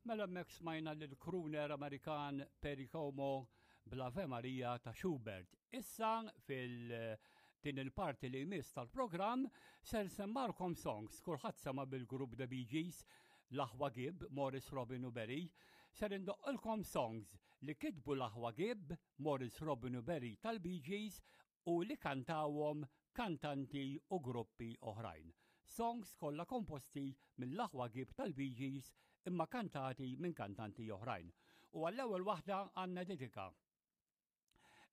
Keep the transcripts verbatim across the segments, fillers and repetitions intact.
Mela hemmhekk smajna lill-crooner Amerikan Perry Como bl-Ave Maria ta' Schubert. Issa fil- din il-parti li jmiss tal-programm ser nsemmagħlkom songs. Kulħadd sema bil-grupp The Bee Gees, l-aħwa Gibb, Maurice, Robin u Barry. Ser indoqqilkom songs li kitbu l-aħwa Gibb, Maurice, Robin u Barry tal-Bee Gees u li kantawhom kantanti u gruppi oħrajn. Songs kollha komposti mill-aħwa Gibb tal-Bee Gees imma kantati minn kantanti oħrajn. U għall-ewwel waħda għandna dedika.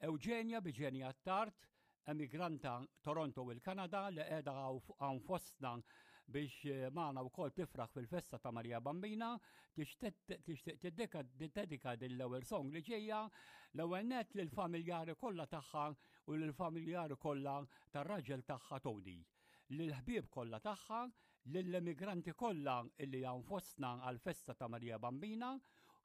Eugenia Biġenia Tart, emigranta Toronto u l-Kanada li qiegħda hawn fostna biex eh, magħna wkoll tifraħ fil-festa ta' Marija Bambina, tixtieq tiddedika din l-ewwel song li ġejja l-ewwel net lill-familjari kollha tagħha u lill-familjari kollha tar-raġel tagħha Tony, lill-ħbieb kollha tagħha, lill-emigranti kollha illi hawn fostna għal-festa ta' Marija Bambina,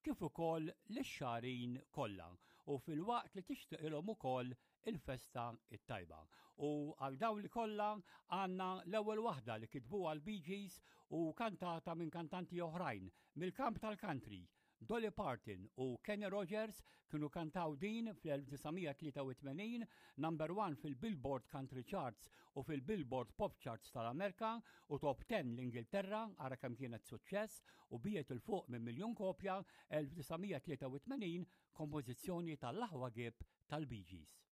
kif ukoll lix-Xagħrin kollha u filwaqt li tixtieqilhom ukoll il-festa it-tajba. U għal dawn li kollha għandna l-ewwel waħda li kitbu għal Bee Gees u kantata minn kantanti oħrajn mill-kamp tal-country. Dolly Parton u Kenny Rogers kienu kantaw din fl-elf disa' mija tlieta u tmenin, number one fil-Billboard Country Charts u fil-Billboard Pop Charts tal-Amerika u top ten l-Ingilterra, ara kemm kienet suċċess u biegħet 'il fuq minn miljon kopja elf disa' mija tlieta u tmenin, kompożizzjoni tal-aħwa Gibb tal-Bee Gees.